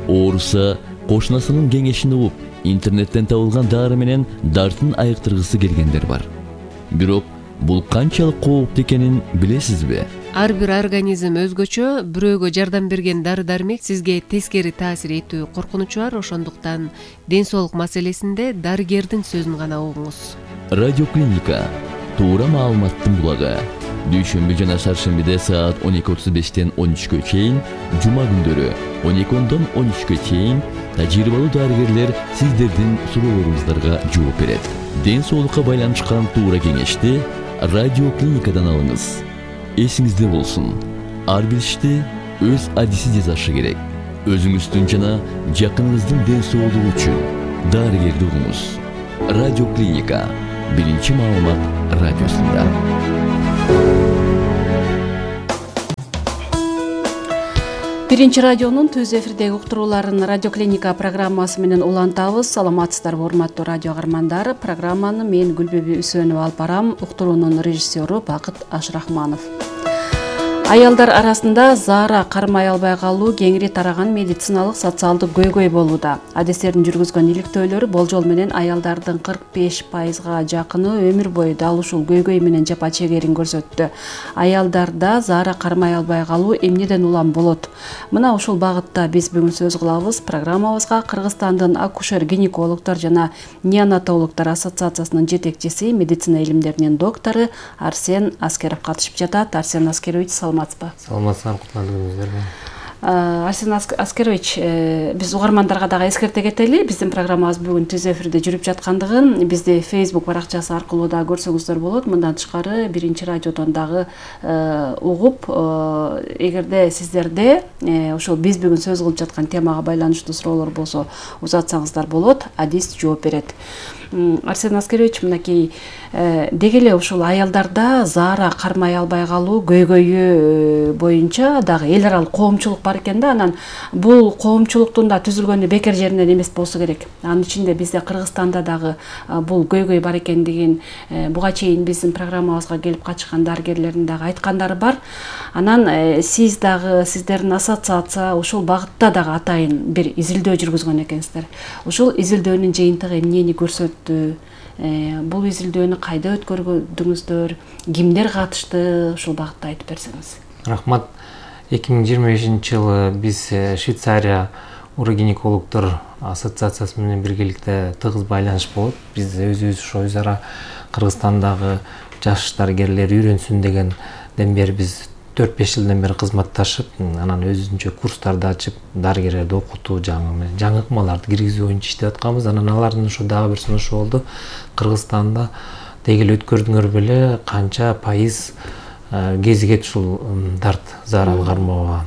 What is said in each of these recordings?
ооруса кошунасынын кеңешин угуп, интернеттен табылган дары менен дартын айыктыргысы келгендер бар. Бирок бул канчалык кооптуу экенин билесизби? Ар бир организм өзгөчө, бирөөгө жардам берген дары-дармек сизге тескери таасир этүү коркунучу бар, ошондуктан ден соолук маселесинде дарыгердин сөзүн гана угуңуз. Радиоклиника туура маалыматтын булагы. Дүйшөмбү жана шаршембиде саат 12:35-тен 13-кө чейин, жума күндөрү 12-дон 13-кө чейин тажрыйбалуу дарыгерлер сиздердин суроолоруңуздарга жооп берет. Ден соолукка байланышкан туура кеңешти радиоклиникадан алыңыз. Эсиңизде болсун, ар бир ишти өз адиси жасашы керек. Өзүңүздүн жана жакыныңыздын ден соолугу үчүн дарыгерди угуңуз. Радиоклиника биринчи маалымат радиосунда. Биринчи радионун түз эфирдеги уктурууларын Радиоклиника программасы менен улантабыз. Саламатсыздарбы, урматтуу радио каармандар. Программаны мен Гүлбүбү Үсөнова алып барам. Уктуруунун режиссеру Бакыт Ашрахманов. Аялдар арасында заара кармай албай калуу кеңири тараган медициналык социалдык көйгөй болууда. Адистердин жүргүзгөн иликтөөлөрү болжол менен аялдардын 45%га жакыны өмүр бою дал ушул көйгөй менен жапа чегерин көрсөттү. Аялдарда заара кармай албай калуу эмнеден улам болот? Мына ушул багытта биз бүгүн сөз кылабыз. Программабызга Кыргызстандын акушер-гинекологдор жана неонатологдор ассоциациясынын жетекчиси, медицина илимдеринин доктору Арсен Аскеров катышып жатат. Арсен Аскерович, саламатсызбы? Саламатсыздар, кутмандыңыздарбы. Арсен Аскерович, биз угармандарга дагы эскерте кетели. Биздин программабыз бүгүн түз эфирде жүрүп жаткандыгын бизди Facebook баракчасы аркылуу да көрсөңүздөр болот. Мындан тышкары биринчи радиодон дагы угуп, эгерде сиздерде ошол биз бүгүн сөз кылып жаткан темага байланыштуу суроолор болсо узатсаңыздар болот, адис жооп берет. Арсен Аскерович, мынакей деги эле ушул аялдарда заара кармай албай калуу көйгөйү боюнча дагы эл аралык коомчулук бар экен да. Анан бул коомчулуктун да түзүлгөнү бекер жеринен эмес болсо керек. Анын ичинде бизде Кыргызстанда дагы бул көйгөй бар экендигин буга чейин биздин программабызга келип катышкан дарыгерлердин дагы айткандары бар. Анан сиз дагы, сиздердин ассоциация ушул багытта дагы атайын бир изилдөө жүргүзгөн экенсиздер. Ушул изилдөөнүн жыйынтыгы эмнени көрсөттү? Бул изилдөөнү кайда өткөрдүңүздөр? Кимдер катышты? Ушул багытта айтып берсеңиз. Рахмат. 2025-жылы биз Швейцария урогинекологдор ассоциациясы менен биргеликте тыгыз байланыш болот. Биз өзүбүз ошо өз ара Кыргызстандагы жаш дарыгерлер үйрөнсүн дегенден бери биз 4-5 жылдан бери кызматташып, анан өзүнчө курстарды ачып, дарыгерлерди окутуу, жаңы ыкмаларды киргизүү боюнча иштеп атканбыз. Анан алардын ошо дагы бир сунушу болду. Кыргызстанда деги эле өткөрдүңөр беле канча пайыз кезигет ушул дарт заараны кармабаган.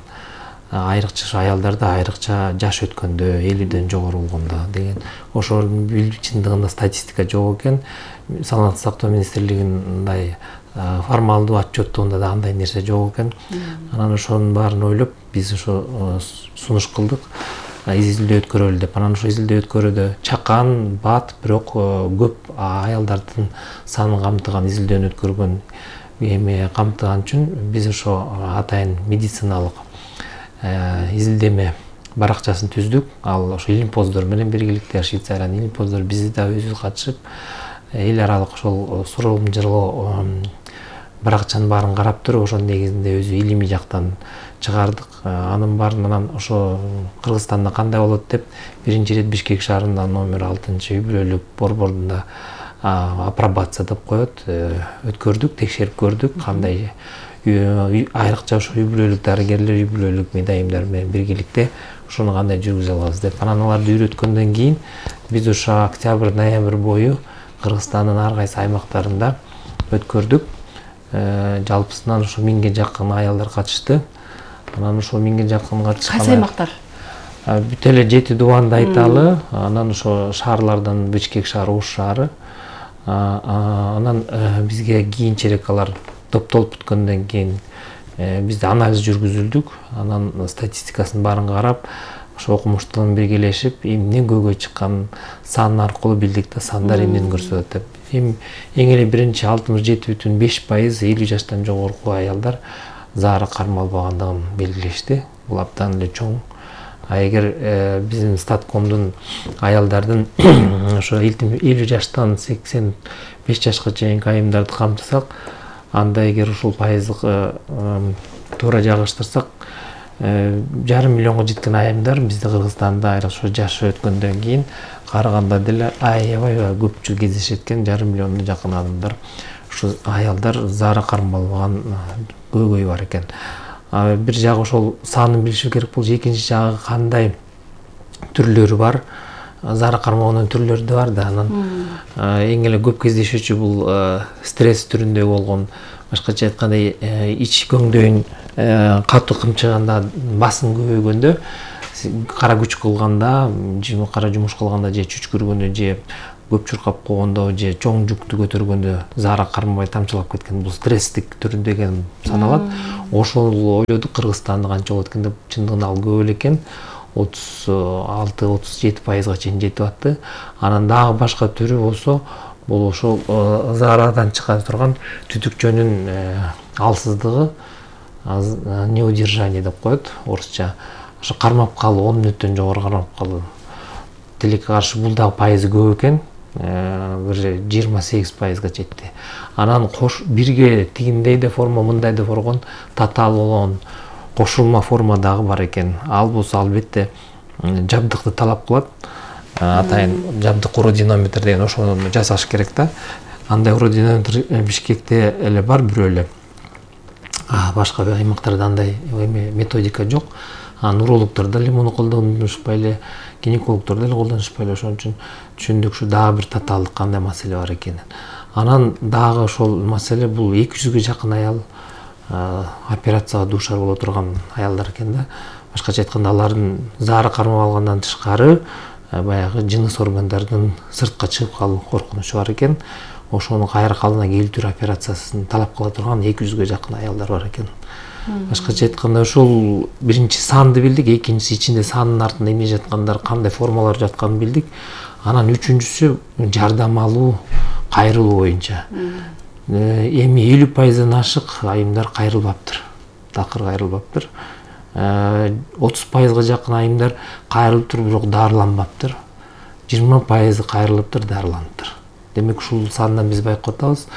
Айрыкча аялдарда, айрыкча жаш өткөндө, 50ден жогору болгондо деген ошо чындыгында статистика жок экен. Саламаттык сактоо министрлигинин мындай формалдуу отчеттугунда да андай нерсе жок экен. Анан ошонун баарын ойлоп биз ошо сунуш кылдык. Изилдөө өткөрөлү деп. Анан ошо изилдөө өткөрүүдө чакан, бат, бирок көп аялдардын санын камтыган изилдөөнү өткөргөн эме камтыган үчүн биз ошо атайын медициналык изилдеме баракчасын түздүк. Ал ошо илимпоздор менен биргеликте Швейцариянын илимпоздору биз да өзүбүз катышып эл аралык ошол суроолжылоо баракчанын баарын карап туруп, ошонун негизинде өзү илимий жактан чыгардык. Анын баарынан ошо Кыргызстанда кандай болот деп биринчи ирет Бишкек шаарында номер 6-үй-бүлөлүк борборунда апробация деп коет. Өткөрдүк, текшерип көрдүк, кандай айрыкча ошо үй-бүлөлүк дарыгерлер, үй-бүлөлүк медайымдар менен биргеликте ошону кандай жүргүзө алабыз деп. Анан аларды үйрөткөндөн кийин биз ошо октябрь-ноябрь бою Кыргызстандын ар кайсы аймактарында өткөрдүк. Жалпысынан ошо 1000ге жакын аялдар катышты. Анан ошо 1000ге жакын катышкан. Кайсы аймактар? Бүт эле 7 дубанды айталы. Анан ошо шаарлардан Бишкек шаары, Ош шаары. Анан бизге кийинчерээк алар топтолуп бүткөндөн кийин бизде анализ жүргүзүлдүк. Анан статистикасын баарын карап, ошо окумуштуу биргелешип, эмне көйгөй чыккан сан аркылуу билдик да, сандар эмнени көрсөтөт деп. Эң эле биринчи 67,5% 50 жаштан жогорку аялдар заара кармалбагандыгын белгилешти. Бул абдан эле чоң эгер биздин статкомдун аялдардын ошо 50 жаштан 85 жашка чейинки айымдарды камтысак, анда эгер ушул пайыздык туура жагыштырсак, 1,5 миллионго жеткен айымдар бизде Кыргызстанда ошо жашы өткөндөн кийин караганда деле аябай көпчүлүк кездешет экен. 1,5 миллионго жакын адамдар, ушу аялдар заара кармалган көйгөй бар экен. Бир жагы ошол санын билиши керек болчу, экинчи жагы кандай түрлөрү бар. Заара кармоонун түрлөрү да бар да. Анан эң эле көп кездешүүчү бул стресс түрүндө болгон, башкача айтканда ич көңдөйүн катуу кымчыганда, басым көбөйгөндө, кара күч кылганда, кара жумуш кылганда, же чүчкүргөндө, же көп чуркап койгондо, же чоң жүктү көтөргөндө заара кармабай тамчылап кеткен, бул стресстик түрүндө экен саналат. Ошол ойлодук Кыргызстанда канча болот экен деп, чындыгында ал көп эле экен. 36-37% чейин жетип атты. Анан дагы башка түрү болсо, бул ошол заарадан чыга турган түтүкчөнүн алсыздыгы, неудержание деп коет орусча. Ошо кармап калуу, 10 мүнөттөн жогору кармап калуу. Тилекке каршы бул дагы пайызы көп экен. Бир 28%га жетти. Анан бирге тигиндей да форма, мындай да форма, татаал болгон кошулма форма дагы бар экен. Ал болсо албетте жабдыкты талап кылат. Атайын жабдык уродинометр деген ошону жасаш керек да. Андай уродинометр Бишкекте эле бар бирөө эле. Башка аймактарда андай методика жок. Урологдор деле муну колдонушпай эле, гинекологдор деле колдонушпай эле. Ошон үчүн түшүндүк ушу дагы бир татаалдык кандай маселе бар экенин. Анан дагы ошол маселе бул 200ге жакын аял операцияга дуушар боло турган аялдар экен да. Башкача айтканда, алардын заара кармап алгандан тышкары баягы жыныс органдардын сыртка чыгып калуу коркунучу бар экен. Ошону кайра калдына келтирүү операциясын талап кыла турган 200ге жакын аялдар бар экен. Башкача айтканда, ошол биринчи санды билдик, экинчиси ичинде санын артында эмне жаткандар, кандай формалар жатканын билдик. Анан үчүнчүсү жардам алуу, кайрылуу боюнча. Эми 50%дан ашык айымдар кайрылбаптыр, такыр кайрылбаптыр. 30%га жакын айымдар кайрылыптыр, бирок дарыланбаптыр. 20% кайрылыптыр, дарыланыптыр. Демек ушул сандан биз байкап атабыз.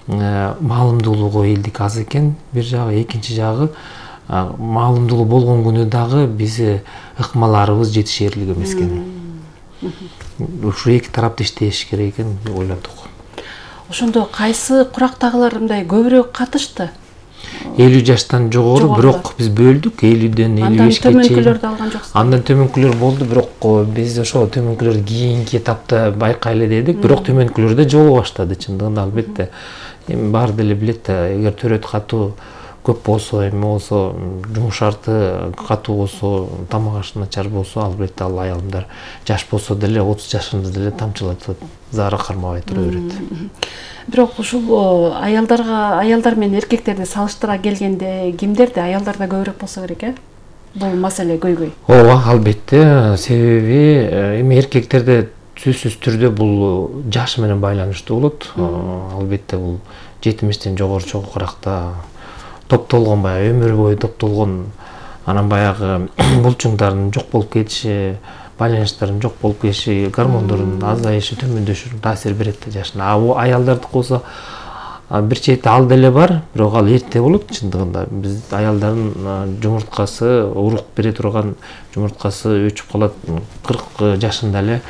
Маалымдуулугу элдик аз экен, бир жагы. Экинчи жагы, маалымдуулук болгон күнү дагы биз ыкмаларыбыз жетишерлик эмес экен. Ушу эки тарапта иштеш керек экен деп ойлодук. Ошондо кайсы курактагылар мындай көбүрөөк катышты? 50 жаштан жогору, бирок биз бөлдүк 50ден 55ге чейин. Андан төмөнкүлөрдү алган жоксуз? Андан төмөнкүлөр болду, бирок биз ошо төмөнкүлөрдү кийинки этапта байкайлы дедик, бирок төмөнкүлөр да жоло баштады чындыгында. Албетте эми баары деле билет да, эгер төрөт катуу көп болсо, эми болсо, жумуш шарты катуу болсо, тамак ашы начар болсо, албетте ал аялдар жаш болсо деле 30 жашында деле тамчылатып заара кармабай тура берет. Бирок ушул аялдар менен эркектерди салыштыра келгенде кимдерде аялдарда көбүрөөк болсо керек, бул маселе көйгөй? Ооба, албетте. Себеби эми эркектерде сөзсүз түрдө бул жаш менен байланыштуу болот. Албетте бул 70тен жогору чокуракта топтолгон, баягы өмүр бою топтолгон, анан баягы булчуңдардын жок болуп кетиши, байланыштардын жок болуп кетиши, гормондордун азайышы, төмөндөшү таасир берет да жашына. Аялдардыкы болсо бир чети ал деле бар, бирок ал эрте болот чындыгында. Биз аялдардын жумурткасы, урук бере турган жумурткасы өчүп калат 40 жашында эле,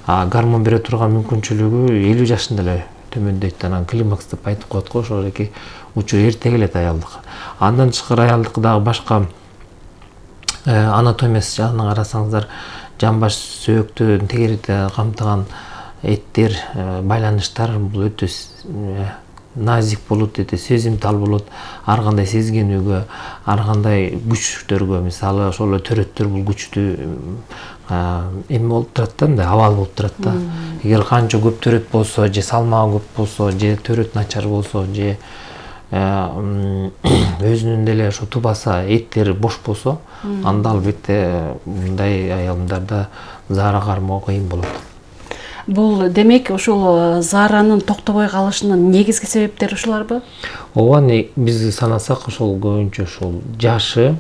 гормон бере турган мүмкүнчүлүгү 50 жашында эле төмөндөйт. Анан климакс деп айтып коет го, ошол эки учур эрте келет аялдыкы. Андан тышкары аялдыкы дагы башка анатомиясы жагынан карасаңыздар, жамбаш, сөөктү тегеректи камтыган эттер, байланыштар бул өтө назик болот, өтө сезимтал болот. Ар кандай сезгенүүгө, ар кандай күчтөргө, мисалы ошол төрөттөр бул күчтү эми болуп турат да, мындай абал болуп турат да. Эгер канча көп төрөт болсо, же салмагы көп болсо, же төрөт начар болсо, же өзүнүн деле ошо тубаса, эттери бош болсо, анда албетте мындай аялдарда заара кармоо кыйын болот. Бул демек ушул зааранын токтобой калышынын негизги себептери ушуларбы? Ооба, биз санасак ошол көбүнчө ошол жашы,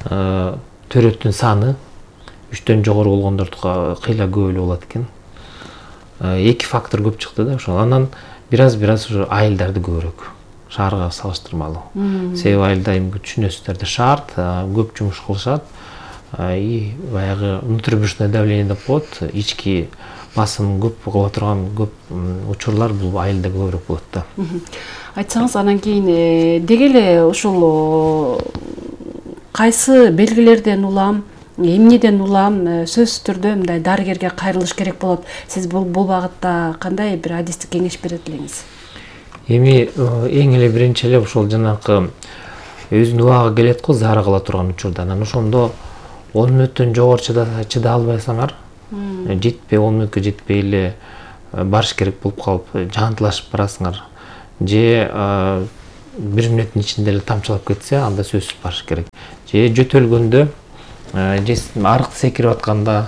төрөттүн саны, 3төн жогору болгондордука кыйла көп эле болот экен. 2 фактор көп чыкты да ошол. Анан бир аз ушу айылдарды көбүрөөк шаарга салыштырмалуу. Себеби айылда эми түшүнөсүздөр да шаарт, көп жумуш кылышат. И баягы внутрибрюшное давление деп коет, ички басым көп кыла турган көп учурлар бул айылда көбүрөөк болот да. Айтсаңыз, анан кийин деги эле ушул кайсы белгилерден улам, эмнеден улам сөзсүз түрдө мындай дарыгерге кайрылыш керек болот? Сиз бул багытта кандай бир адистик кеңеш берет элеңиз? Эми эң эле биринчи эле ошол жанакы өзүнүн убагы келет го заара кыла турган учурда. Анан ошондо 10 мүнөттөн жогору чыда албайсаңар, жетпей 10 мүнөткө жетпей эле барыш керек болуп калып, жантылашып барасыңар. Же 1 мүнөттүн ичинде эле тамчылап кетсе, анда сөзсүз барыш керек. Же жөтөлгөндө, же арык секирип атканда,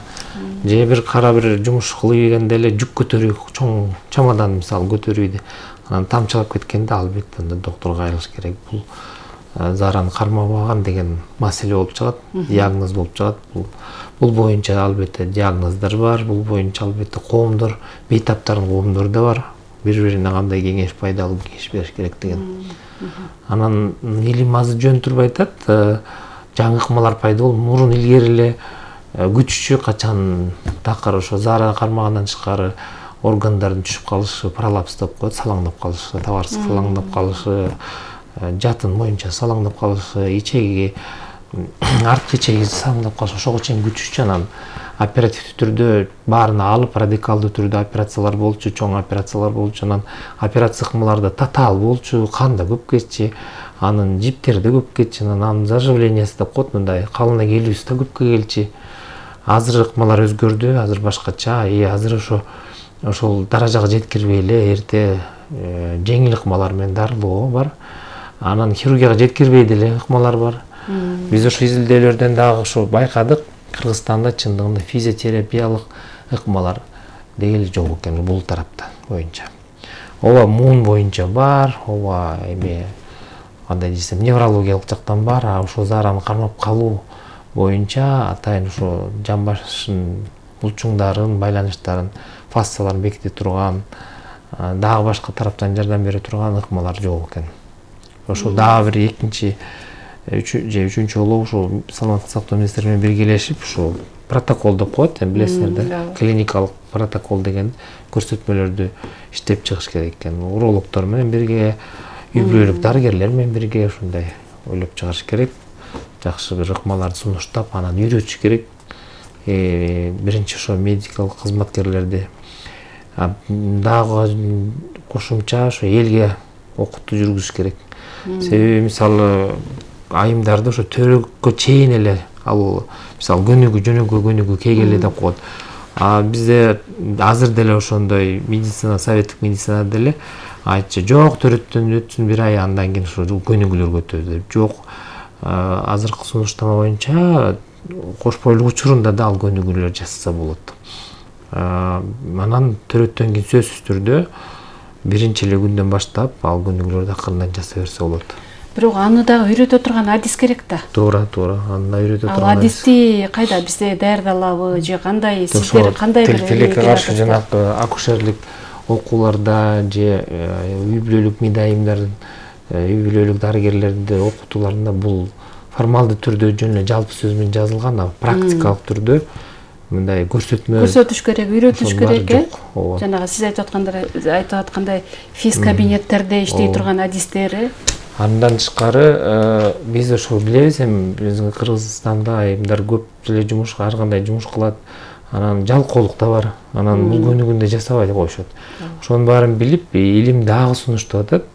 же бир кара бир жумуш кылып ийгенде эле жүк көтөрүү, чоң чамадан мисалы көтөрүүдө анан тамчылап кеткенде албетте анда доктурга кайрылыш керек. Бул заараны кармабаган деген маселе болуп чыгат, диагноз болуп чыгат. Бул боюнча албетте диагноздар бар, бул боюнча албетте коомдор, бейтаптардын коомдору да бар. Бири-бирине кандай кеңеш, пайдалуу кеңеш бериш керек деген. Анан илим азыр жөн турбай айтат, жаңы ыкмалар пайда болуп, мурун илгери эле күчүчү качан такыр ошо заара кармагандан тышкары органдардын түшүп калышы, пролапс деп коет, салаңдап калышы, табарсыз салаңдап калышы, жатын боюнча салаңдап калышы, ичеги арткы ичеги салаңдап калышы, ошого чейин күчүчү. Анан оперативдүү түрдө баарына алып, радикалдуу түрдө операциялар болчу, чоң операциялар болчу. Анан операция ыкмаларда татаал болчу, кан да көп кетчү, анын жиптери да көп кетчү, анын заживлениясы деп коет, мындай калына келүүсү да көпкө келчү. Азыр ыкмалар өзгөрдү, азыр башкача, азыр ошол даражага жеткирбей эле эрте жеңил ыкмалар менен дарылоо бар. Анан хирургияга жеткирбей деле ыкмалар бар. Биз ошо изилдөөлөрдөн дагы ошо байкадык, Кыргызстанда чындыгында физиотерапиялык ыкмалар деги эле жок экен бул тарапта боюнча. Ооба муун боюнча бар, ооба эми кандай десем неврологиялык жактан бар, ошо заараны кармап калуу боюнча атайын ошо жан башын булчуңдарын, байланыштарын, фасцияларын беките турган, дагы башка тараптан жардам бере турган ыкмалар жок экен. Ошо дагы бир экинчи же үчүнчү жолу ошо саламаттык сактоо министри менен биргелешип ошо протокол деп коет, билесиңер да, клиникалык протокол деген көрсөтмөлөрдү иштеп чыгыш керек экен. Урологдор менен бирге, үй бүлөлүк дарыгерлер менен бирге ушундай ойлоп чыгарыш керек. Жакшы бир ыкмаларды сунуштап, анан үйрөтүш керек. Биринчи ошо медикалык кызматкерлерди дагы кошумча ошо элге окутуу жүргүзүш керек. Себеби мисалы айымдарды ошо төрөккө чейин эле ал мисалы көнүгүү кейгеле деп коет. Бизде азыр деле ошондой медицина, советтик медицинада деле айтчу, жок төрөттөн өтсүн бир ай, андан кийин ошо көнүгүүлөр өтөдү деп. Жок, азыркы сунуштама боюнча кош бойлук учурунда да ал көнүгүүлөр жасаса болот. Анан төрөттөн кийин сөзсүз түрдө биринчи эле күндөн баштап ал көнүгүүлөрдү акырындан жасай берсе болот. Бирок аны дагы үйрөтө турган адис керек да. Туура, аны да үйрөтө турган. Ал адисти кайда бизде даярдалабы же кандай, сиздер кандай бир тилекке каршы жанакы акушерлик окууларда же үй бүлөлүк медайымдардын, үй бүлөлүк дарыгерлерди окутууларында бул формалдуу түрдө жөн эле жалпы сөз менен жазылган, а практикалык түрдө мындай көрсөтүш керек, үйрөтүш керек. Жанагы сиз айтып аткандай физ кабинеттерде иштей турган адистери. Андан тышкары биз ошо билебиз, эми биздин Кыргызстанда айымдар көп эле жумуш, ар кандай жумуш кылат. Анан жалкоолук да бар. Анан бул көнүгүүндө жасабай коюшат. Ошонун баарын билип, илим дагы сунуштап атат.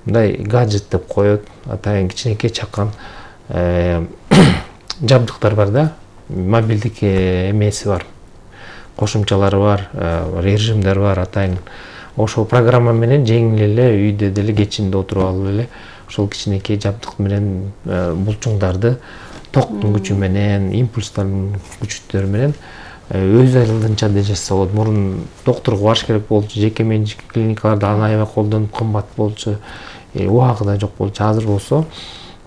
Мындай гаджет деп коет, атайын кичинекей чакан жабдыктар бар да, мобилдик эмеси бар, кошумчалары бар, режимдер бар, атайын ошол программа менен жеңил эле үйдө деле кечинде отуруп алып эле ошол кичинекей жабдык менен булчуңдарды токтун күчү менен, импульстардын күчтөрү менен өз алдынча да жасаса болот. Мурун доктурга барыш керек болчу, жеке менчик клиникаларда аны аябай колдонуп кымбат болчу, убагы да жок болчу. Азыр болсо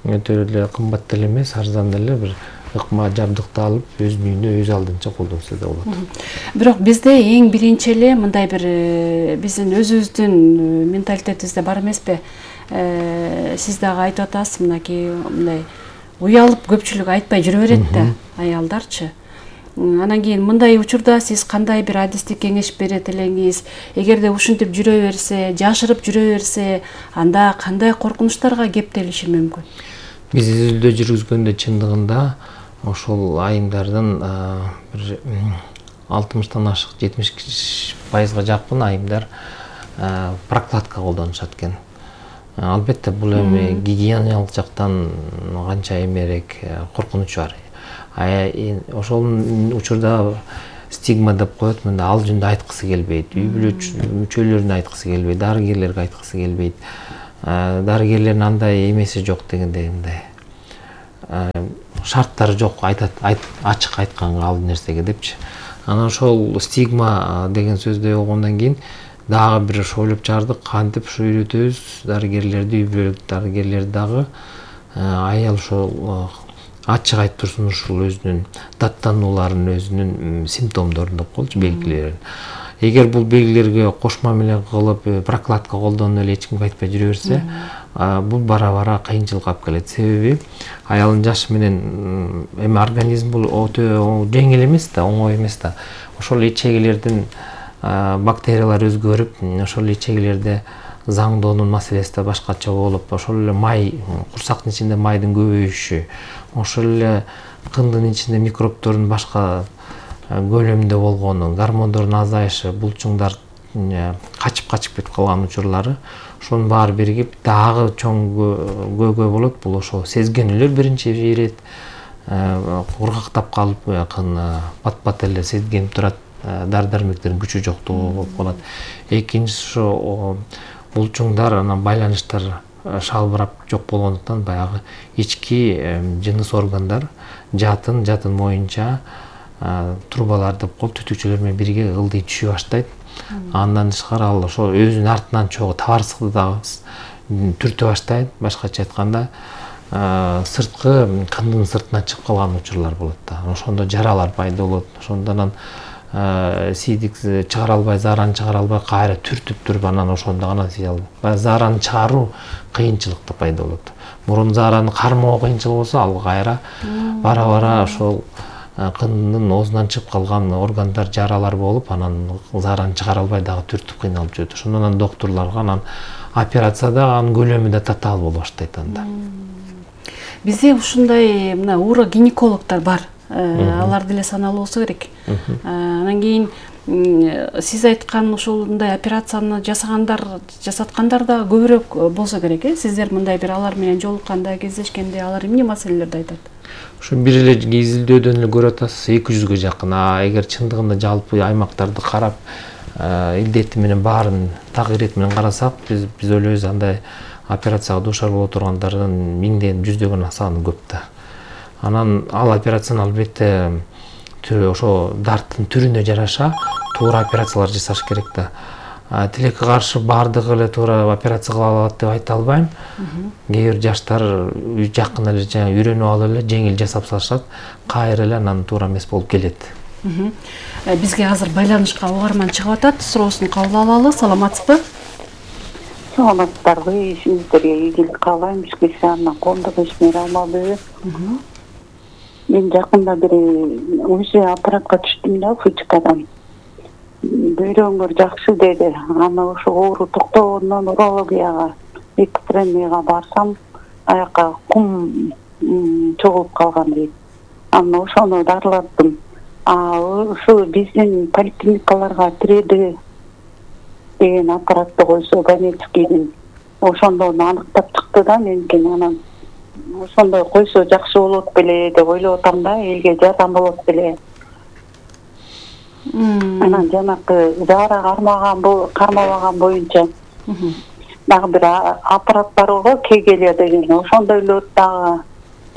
өтө эле кымбат деле эмес, арзан деле бир ыкма жабдыкты алып өзүнүн үйүндө өз алдынча колдонсо да болот. Бирок бизде эң биринчи эле мындай бир биздин өзүбүздүн менталитетибизде бар эмеспи? Сиз дагы айтып атасыз, мынакей мындай уялып көпчүлүк айтпай жүрө берет да, аялдарчы. Анан кийин мындай учурда сиз кандай бир адистик кеңеш берет элеңиз? Эгерде ушинтип жүрө берсе, жашырып жүрө берсе, анда кандай коркунучтарга кептелиши мүмкүн? Биз изилдөө жүргүзгөндө чындыгында ошол айымдардын бир 60-тан ашык 70% жакын айымдар прокладка колдонушат экен. Албетте бул эми гигиеналык жактан канча эмерээк коркунучу бар. Ошол учурда стигма деп коет, мында ал жөнүндө айткысы келбейт, үй бүлө мүчөлөрүнө айткысы келбейт, дарыгерлерге айткысы келбейт. Дарыгерлердин андай эмеси жок дегендей, мындай шарттары жок, айтат, ачык айтканга ал нерсеге депчи. Анан ошол стигма деген сөздү болгондон кийин дагы бир ойлоп чыгардык, кантип ушу үйрөтөбүз дарыгерлерди, үй бүлөлүк дарыгерлерди дагы аял ошол ачык айтып турсун ушул өзүнүн даттанууларын, өзүнүн симптомдорун деп коелучу, белгилерин. Эгер бул белгилерге кош мамиле кылып, прокладка колдонуп эле эч кимге айтпай жүрө берсе, бул бара-бара кыйынчылыкка алып келет. Себеби аялдын жашы менен эми организм бул өтө жеңил эмес да, оңой эмес да. Ошол ичегилердин бактериялар өзгөрүп, ошол ичегилерде заңдоонун маселеси да башкача болуп, ошол эле май, курсактын ичинде майдын көбөйүшү, ошол эле кындын ичинде микробтордун башка көлөмдө болгону, гормондордун азайышы, булчуңдар качып кетип калган учурлары, ошонун баары биригип дагы чоң көйгөй болот. Бул ошо сезгенүүлөр биринчи ирет, кургактап калып, пат эле сезгенип турат, дары-дармектердин күчү жоктугу болуп калат. Экинчиси ошо булчуңдар, анан байланыштар шалбырап жок болгондуктан баягы ички жыныс органдар жатын моюнча трубалар деп коелу, түтүкчөлөр менен бирге ылдый түшө баштайт. Андан тышкары ал ошо өзүнүн артынан чогуу табарсыкты дагы түртө баштайт. Башкача айтканда, сырткы кындын сыртына чыгып калган учурлар болот да. Ошондо жаралар пайда болот. Ошондон сийдик чыгара албай, заараны чыгара албай, кайра түртүп туруп, анан ошондо гана сий албайт. Заараны чыгаруу кыйынчылыкта пайда болот. Мурун заараны кармоо кыйынчыл болсо, ал кайра бара-бара ошол кындын оозунан чыгып калган органдар, жаралар болуп, анан заараны чыгара албай дагы түртүп кыйналып жүрөт. Ошондон анан доктурларга анан операцияда анын көлөмү да татаал боло баштайт анда. Бизде ушундай мына урогинекологдор бар. Алар деле саналуу болсо керек. Анан кийин сиз айткан ушундай операцияны жасаткандар да көбүрөөк болсо керек, Сиздер мындай бир алар менен жолукканда, кездешкенде алар эмне маселелерди айтат? Ушу бир эле изилдөөдөн эле көрүп атасыз, 200-гө жакын. Эгер чындыгында жалпы аймактарды карап, илдети менен баарын так ирети менен карасак, биз ойлойбуз андай операцияга дуушар боло тургандардын 1000ден 100дөгөн саны көп да. Анан ал операцияны албетте ошо дарттын түрүнө жараша туура операциялар жасаш керек да. Тилекке каршы баардыгы эле туура операция кыла алат деп айта албайм. Кээ бир жаштар жакын эле үйрөнүп алып эле жеңил жасап салышат, кайра эле анан туура эмес болуп келет. Бизге азыр байланышка угарман чыгып атат, суроосун кабыл алалы. Саламатсызбы? Саламатсыздарбы? Сиздерге ийгилик каалайм. Бизге саана коомдук ишмер алмабы. Мен жакында бир УЗИ аппаратка түштүм да, фычкадан. Бөйрөңөр жакшы деди. Аны ошо оору токтогондон урологияга, экстремияга барсам, аякка кум чогулуп калган дейт. Аны ошону дарылаттым. Ушу биздин поликлиникаларга тиреди деген аппаратты койсо, Ганецкийдин, ошондон аныктап чыкты да меникин. Анан ошондой койсо жакшы болот беле деп ойлоп атам да, элге жардам болот беле. Анан жанакы заара кармабаган боюнча дагы бир аппарат бар го, Кегелия деген, ошондой эле дагы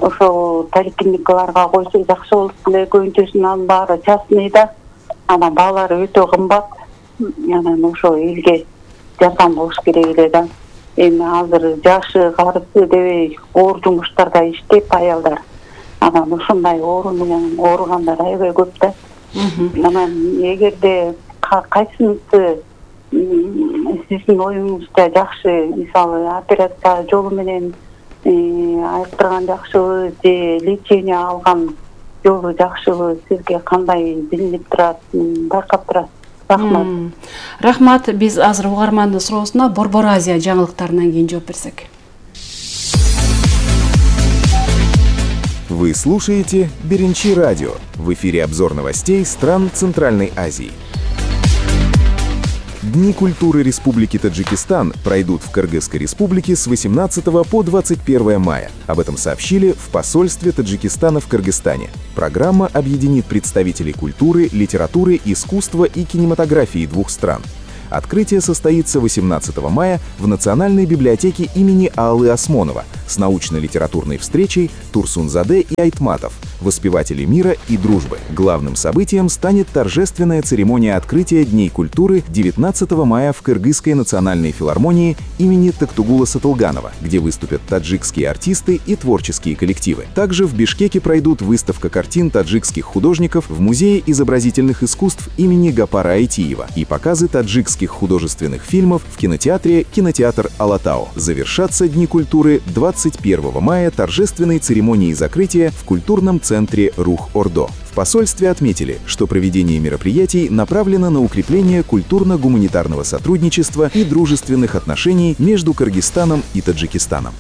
ошо поликлиникаларга койсо жакшы болот беле. Көбүнчөсүнүн баары частный да, анан баалары өтө кымбат. Анан ошо элге жардам болуш керек эле да. Эми азыр жашы карысы дебей оор жумуштарда иштеп аялдар. анан ушундай оору менен ооругандар аябай көп да. Анан эгерде кайсынысы сиздин оюңузда жакшы, мисалы операция жолу менен айыктырган жакшыбы же лечение алган жолу жакшыбы, сизге кандай билинип турат, байкап турат? Рахмат. Рахмат. Биз азыр угармандын суроосуна Борбор Азия жаңылыктарынан кийин жооп берсек. Вы слушаете Беренчи радио. В эфире обзор новостей стран Центральной Азии. Дни культуры Республики Таджикистан пройдут в Кыргызской республике с 18 по 21 мая. Об этом сообщили в посольстве Таджикистана в Кыргызстане. Программа объединит представителей культуры, литературы, искусства и кинематографии двух стран. Открытие состоится 18 мая в Национальной библиотеке имени Аллы Осмонова с научно-литературной встречей Турсунзаде и Айтматов, воспевателей мира и дружбы. Главным событием станет торжественная церемония открытия Дней культуры 19 мая в Кыргызской национальной филармонии имени Токтугула Сатылганова, где выступят таджикские артисты и творческие коллективы. Также в Бишкеке пройдут выставка картин таджикских художников в Музее изобразительных искусств имени Гапара Айтиева и показы таджикских художественных фильмов в кинотеатре «Кинотеатр Алатау». Завершатся Дни культуры 21 мая торжественной церемонией закрытия в культурном центре Рух-Ордо. В посольстве отметили, что проведение мероприятий направлено на укрепление культурно-гуманитарного сотрудничества и дружественных отношений между Кыргызстаном и Таджикистаном.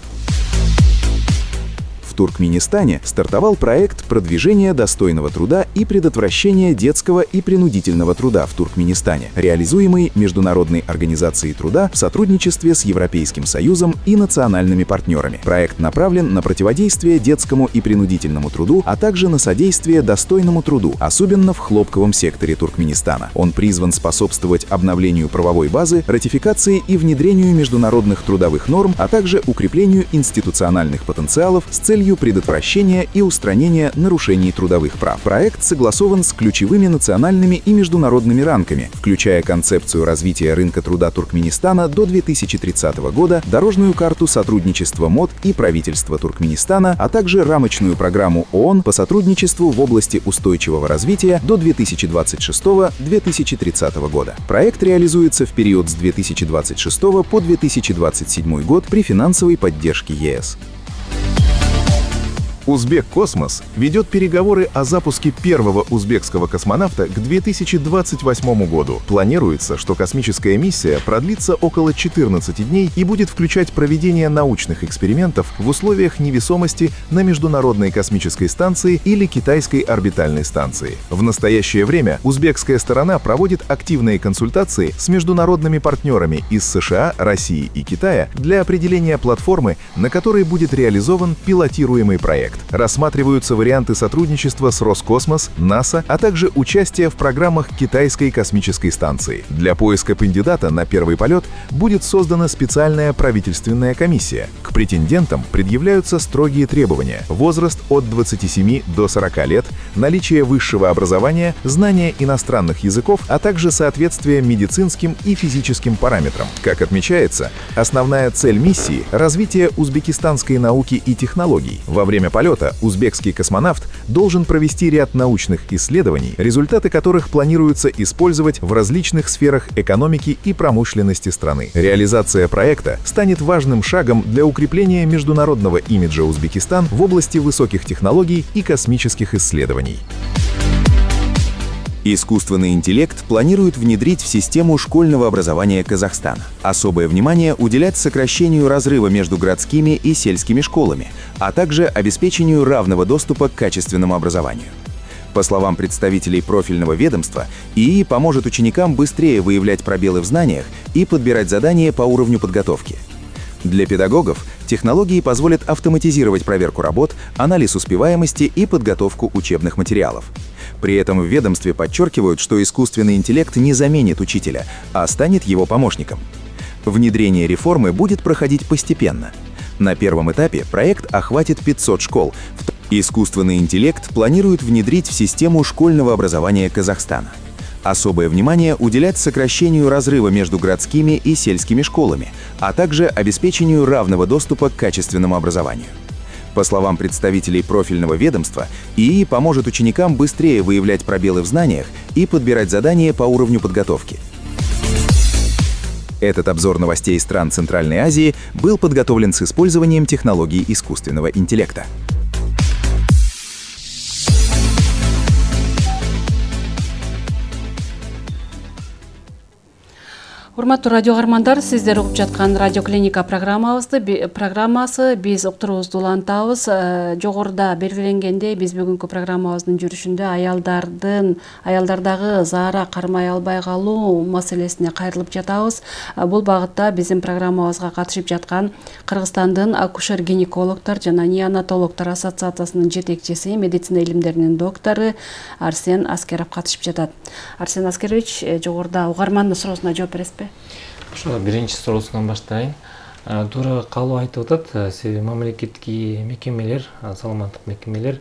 В Туркменистане стартовал проект продвижения достойного труда и предотвращения детского и принудительного труда в Туркменистане, реализуемый Международной организацией труда в сотрудничестве с Европейским Союзом и национальными партнерами. Проект направлен на противодействие детскому и принудительному труду, а также на содействие достойному труду, особенно в хлопковом секторе Туркменистана. Он призван способствовать обновлению правовой базы, ратификации и внедрению международных трудовых норм, а также укреплению институциональных потенциалов с целью предотвращения и устранения нарушений трудовых прав. Проект согласован с ключевыми национальными и международными рамками, включая концепцию развития рынка труда Туркменистана до 2030 года, дорожную карту сотрудничества МОД и правительства Туркменистана, а также рамочную программу ООН по сотрудничеству в области устойчивого развития до 2026-2030 года. Проект реализуется в период с 2026 по 2027 год при финансовой поддержке ЕС. Узбек-Космос ведет переговоры о запуске первого узбекского космонавта к 2028 году. Планируется, что космическая миссия продлится около 14 дней и будет включать проведение научных экспериментов в условиях невесомости на Международной космической станции или Китайской орбитальной станции. В настоящее время узбекская сторона проводит активные консультации с международными партнерами из США, России и Китая для определения платформы, на которой будет реализован пилотируемый проект. Рассматриваются варианты сотрудничества с Роскосмос, НАСА, а также участия в программах Китайской космической станции. Для поиска кандидата на первый полет будет создана специальная правительственная комиссия. К претендентам предъявляются строгие требования: возраст от 27 до 40 лет, наличие высшего образования, знание иностранных языков, а также соответствие медицинским и физическим параметрам. Как отмечается, основная цель миссии — развитие узбекистанской науки и технологий. Во время полета узбекский космонавт должен провести ряд научных исследований, результаты которых планируется использовать в различных сферах экономики и промышленности страны. Реализация проекта станет важным шагом для укрепления международного имиджа Узбекистан в области высоких технологий и космических исследований. Искусственный интеллект планирует внедрить в систему школьного образования Казахстана. Особое внимание уделять сокращению разрыва между городскими и сельскими школами, а также обеспечению равного доступа к качественному образованию. По словам представителей профильного ведомства, ИИ поможет ученикам быстрее выявлять пробелы в знаниях и подбирать задания по уровню подготовки. Для педагогов технологии позволят автоматизировать проверку работ, анализ успеваемости и подготовку учебных материалов. При этом в ведомстве подчеркивают, что искусственный интеллект не заменит учителя, а станет его помощником. Внедрение реформы будет проходить постепенно. На первом этапе проект охватит 500 школ. Искусственный интеллект планируют внедрить в систему школьного образования Казахстана. Особое внимание уделять сокращению разрыва между городскими и сельскими школами, а также обеспечению равного доступа к качественному образованию. По словам представителей профильного ведомства, ИИ поможет ученикам быстрее выявлять пробелы в знаниях и подбирать задания по уровню подготовки. Этот обзор новостей стран Центральной Азии был подготовлен с использованием технологий искусственного интеллекта. Урматтуу радио каармандар, сиздер угуп жаткан Радио Клиника программасы биз уктуруубузду улантабыз. Жогоруда белгиленгендей, биз бүгүнкү программабыздын жүрүшүндө аялдардагы заара кармай албай калуу маселесине кайрылып жатабыз. Бул багытта биздин программабызга катышып жаткан Кыргызстандын акушер-гинекологдор жана неонатологдор ассоциациясынын жетекчиси, медицина илимдеринин доктору Арсен Аскеров катышып жатат. Арсен Аскерович, жогоруда угармандын суроосуна жооп бересизби? Ошо биринчи суроосунан баштайын. Туура калуу айтып атат. Себеби мамлекеттик мекемелер, саламаттык мекемелер